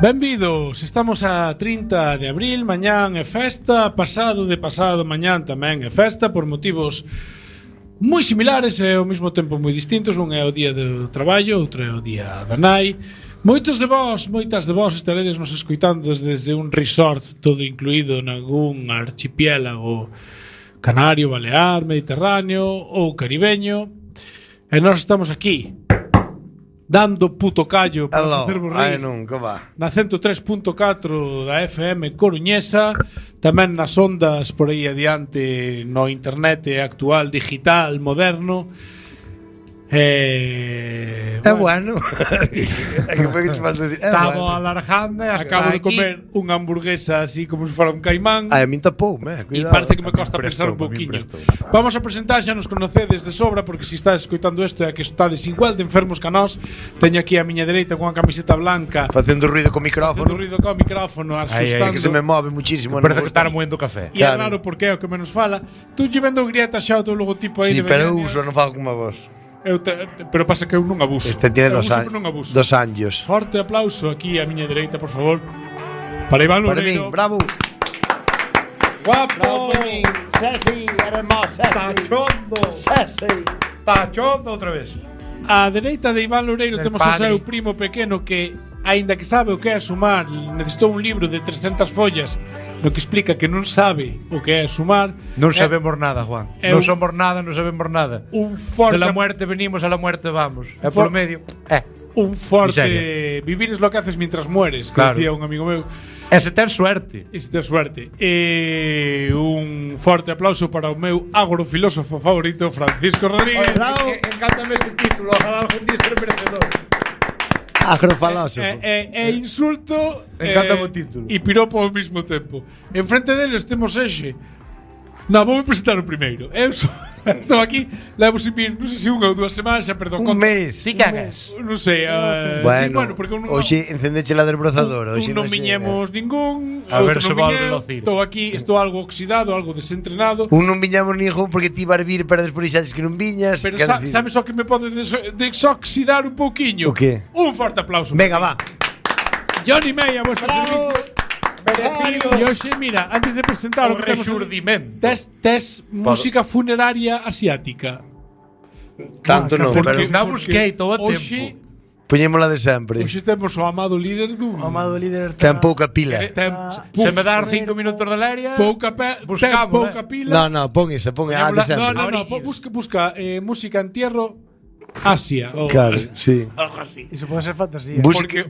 Benvidos, estamos a 30 de abril, mañán é festa, pasado mañán tamén é festa por motivos moi similares e ao mesmo tempo moi distintos. Un é o día do traballo, outro é o día da nai. Moitas de vós estaredes nos escoitando desde un resort todo incluído nalgún archipiélago canario, balear, mediterráneo ou caribeño. E nós estamos aquí dando puto callo para facervos rir na 103.4 da FM coruñesa, tamén nas ondas por aí adiante no internet actual, digital, moderno. Bueno. Estamos alargando. Acabo de comer unha hamburguesa así como se fora un caimán. A mí tapoume, e parece que me costa pensar un pouquiño. Vamos a presentar, xa nos conocedes de sobra, porque se estás escoitando isto é que estades igual de enfermos que nós. Teño aquí a miña dereita con unha camiseta blanca facendo ruido co micrófono, asustando, que se me move muchísimo. Parece que está moendo café. E é raro porque é o que menos fala. Tú lle vendo grieta xa o teu logotipo aí. Sí, pero eu uso, non fago como a vos. Pero pasa que eu non abuso. Este tiene 2 años. Forte aplauso aquí a miña dereita, por favor, para Iván Loureiro. Bravo. Guapo. Ceci, hermosa. Tachondo outra vez. A dereita de Iván Loureiro temos o seu primo pequeno que, aínda que sabe o que é sumar, necesitou un libro de 300 follas no que explica que non sabe o que é sumar. Non sabemos nada, Juan. Non somos nada, non sabemos nada. Un forte... De la muerte venimos, a la muerte vamos. É por medio. Un forte... Miseria. Vivir es lo que haces mientras mueres, que claro. Decía un amigo meu. Ese ten suerte. Un forte aplauso para o meu agrofilósofo favorito, Francisco Rodríguez. Encántame ese título. Ojalá algún día ser merecedor. Agrofalósofo. Insulto Encántame o título. E piropo ao mesmo tempo. En frente deles temos Exe. Non, vou presentar o primeiro. Eu estou aquí, levo sin vir, non sei se unha ou 2 semanas, xa perdón. Un mes. Ti cagas. Non sei. Bueno, porque hoxe encendeche la desbrozadora. Non viñemos ningún. A ver se volve velocir. Estou aquí, estou algo oxidado, algo desentrenado. Non viñamos ningún porque ti vas vir para despois dixaches que non viñas. Pero sabes o que me pode desoxidar un pouquiño? O que? Un forte aplauso. Venga, va. Johnny May, a vuestro servicio. E hoxe, mira, antes de presentar o resurdimento, tes música funeraria asiática. Tanto non, pero na busquei todo o tempo. Poñémola de sempre. Hoxe temos o amado líder dun. O amado líder ten pouca pila. Se me dar 5 minutos de aérea, pouca pila. No, pon esa, de sempre. No, busca música entierro Asia. Claro, sí. Algo así. Iso pode ser fantasía.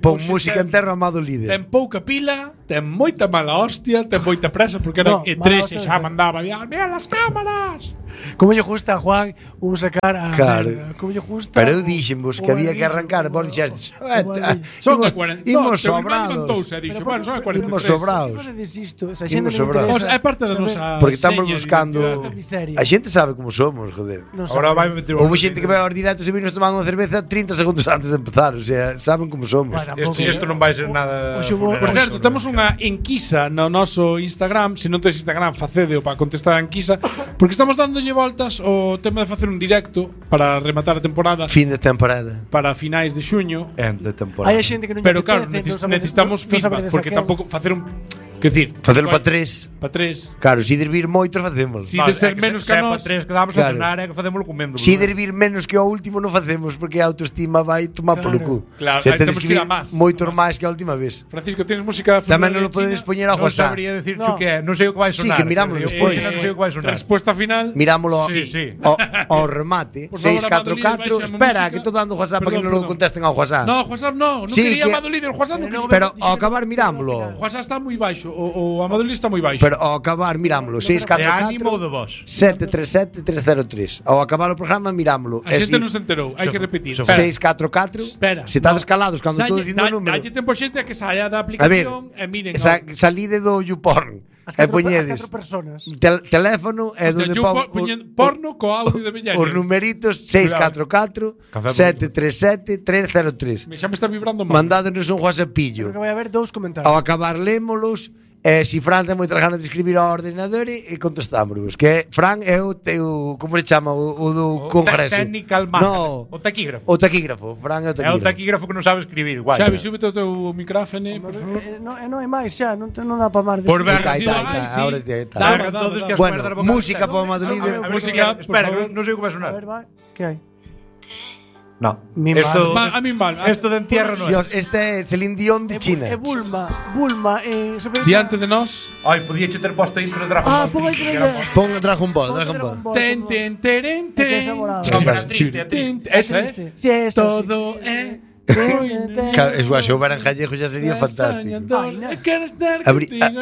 Pon música entero amado líder. Ten pouca pila, ten moita mala hostia, ten moita presa porque era E3 e xa mandaba mira las cámaras. Como lle gusta a Juan un sacar a claro. Como lle gusta. Pero eu dixenvos que había que arrancar, vos dixestes. Son a 40. Imos sobrados. Bueno, son a 43. Imos sobrados. Imos sobrados. É parte da nosa. Porque estamos buscando. A xente sabe como somos, joder. Ahora vai meter Houve xente que vai aos directos e vinos tomando unha cerveza 30 segundos antes de empezar. O sea, saben como somos. Isto non vai ser nada. Por certo, temos unha enquisa no noso Instagram. Se non tes Instagram, facedeo para contestar a enquisa. Porque estamos dándolle voltas o tema de facer un directo para rematar a temporada. Fin de temporada. Para finais de xuño. De temporada. Hai xente que non. Pero claro, necesitamos feedback. Porque tampouco facer un. Quer decir, facelo para 3. Para 3. Claro, se vir moitos facemos. Si de ser menos que nós, para 3 que damos a cenar é que facémolo comendo. Se vir menos que o último non facemos porque a autoestima vai tomar polo cu. Claro, temos que vir moitos máis que a última vez. Francisco, tienes música tamén non lo podes poñer a WhatsApp. Non sabría decirte o que é, non sei o que vai sonar. Sí, que mirámoslo despois. Non sei o que vai sonar. Respuesta final. Mirámoslo ao remate. 644. Espera, que estou dando WhatsApp para que non lo contesten ao WhatsApp. No, WhatsApp non quería Amado Líder, WhatsApp non. Pero ao acabar mirámoslo. WhatsApp está moi baixo, o Amado Líder está moi baixo. Pero ao acabar mirámoslo 644 737 303. Ao acabar o programa mirámoslo. A xente non se enterou, hai que repetir. 644. Espera. Se estades calados cando estou dicindo o número. Dalle tempo xente a que saia da aplicación e miren. Salide do YouPorn. E poñedes teléfono e donde porno co audio de Bellañas. Os numeritos 644 737 303. Xa me está vibrando mal. Mandádenos un WhatsAppillo. Creo que vai haber 2 comentarios. Ao acabar lémolos Si Fran ten moitas ganas de escribir ao ordenador e contestámosvos. Que Fran é o teu, como le chama, o do congreso. Technical man. No, O taquígrafo. o taquígrafo. Fran é o É o taquígrafo. taquígrafo que non sabe escribir. Guai. Xavi, súbete o teu micrófono, por favor. Non hai máis xa, non dá para máis. Por ver, Está, sí, está, ay, está, sí. ahora está. Dame, Todos que as Bueno, cuerdas vocales música están. para o Madolíder. A ver, Música, que- espera, por favor. non sei o que vai A sonar. ver, vai. Que hai? No. Mi Esto, Va, a min mal. esto de entierro non é. Dios, este é Celine Dion de China. É Bulma, se pensa- Diante de nós. Ai, podía che ter posto a intro de Dragon Ball. pon aí Triste, que que era non- mo- Pon Dragon Ball, Dragon Ball. Ten, ten, teren, É que esa ten. morada. No, pero triste, é triste. Esa, eh? Si é esa. Todo é. Eso a xogar en gallego xa sería fantástico.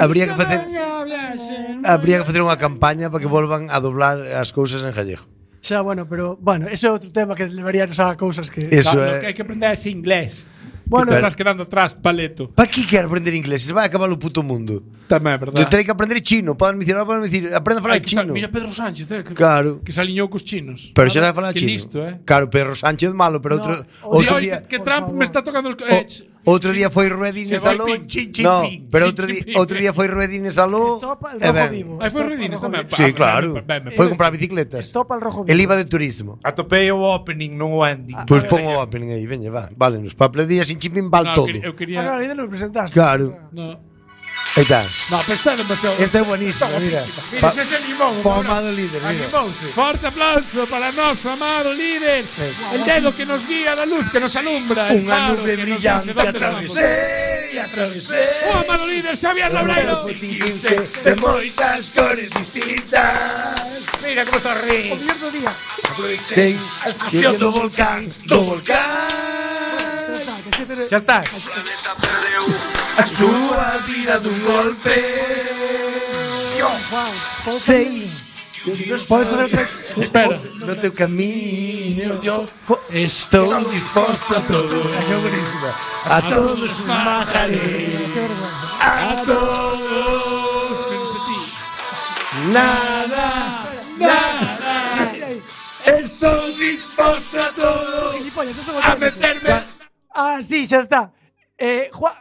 Habría que facer Habría que facer unha campaña para que volvan a doblar as cousas en gallego. Xa, pero ese é outro tema que levaríanos a cousas que Eso Claro, que é. hai que aprender ese inglés. Bueno, Te estás quedando atrás, paleto. Para que quer aprender inglés? Se vai acabar o puto mundo. Tamén, é verdad. Terei que aprender chino. Poden dicir, aprende a falar Hai que estar- chino. Mira Pedro Sánchez, Claro. que se aliñou cos chinos. Pero xa sabe falar Que chino. listo, Claro, Pedro Sánchez malo, pero No, outro Oi, día que por Trump favor. me está tocando os outro día foi Ruedín e Xi Saló. Jinping, No, Xi pero Jinping. outro día foi Ruedín e Saló. Estopa el e rojo ben. vivo. Aí foi Estopa el Redines rojo tamén. vivo. Sí, claro. Ben, Foi comprar bicicletas. Estopa el rojo vivo. El IVA de turismo. Atopei o opening, non o ending. Pois pon o opening aí, veña, va. Válenos. Para aplaudir sin chimpín val todo. Eu quería... Agora, ainda non me presentaste. Claro. No. Aí está. No, pero está demasiado... Este é buenísimo, mira. Mira, ese limón. Pa amado líder, mira. Forte aplauso para noso amado líder. El dedo que nos guía, la luz que nos alumbra. El Unha faro nube que nos brillante dice dónde atravesé vamos. e atravesé. O amado líder Xavier Labreiro. de moitas cores distintas. Mira como se ríe. O mellor do día. Ten a explosión do volcán, Xa está. a súa vida dun golpe. Juan, Sei podes facer outra... Espera. no teu camiño. Dios. Estou disposto a todo. É buenísima. A todos os majaré. A todos. Menos a ti. Nada, nada. Estou disposto a todo. Gilipollas, eso A meterme. Sí, xa está. Juan,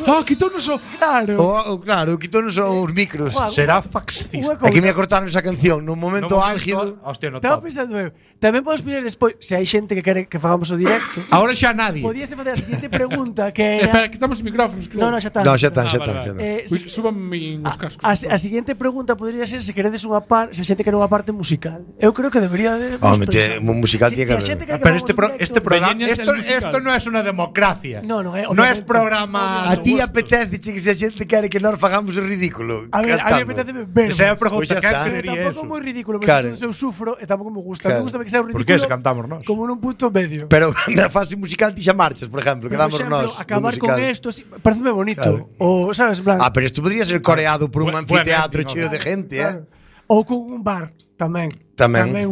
Oh, quitónos o... claro. Claro, quítonos os micros. Juan, Será faxista. Aquí me cortaron esa canción no momento álgido. Hostia, no Estaba top. pensando eu. Tamén podes pedir despois, se hai xente que quere que fagamos o directo, Ahora xa nadie. podíase facer a seguinte pregunta que Espera, era... quitamos os micrófonos, creo. No, xa está. No, xa está, xa vale, está. vale. Pois súbame os cascos. A seguinte pregunta podría ser se queredes unha se a xente quere unha parte musical. Eu creo que debería de... Home, un musical tiene que a haber. xente quere que Pero fagamos este un directo- programa, Millennials, el musical. esto no es una democracia. No, no, No es obviamente. programa. A ti apetece que se a xente quere que nós fagamos o ridículo. A ver, a mí cantando. apetece ver. Esa é a Pois pregunta xa que está. querería Tampouco eso. moi ridículo, pero Claro. eu sufro e tampouco me gusta. Claro. Me gusta que sea un Por ridículo. que se cantamos nós? Como nun punto medio. Pero na fase musical ti xa marchas, por exemplo, quedamos exemplo, nós. no acabar con musical. esto, pareceme bonito. Claro. O, sabes, en plan, Ah, pero isto podría ser coreado por un Buen anfiteatro ending, cheo de gente, claro. Ou con un bar tamén. Tamén.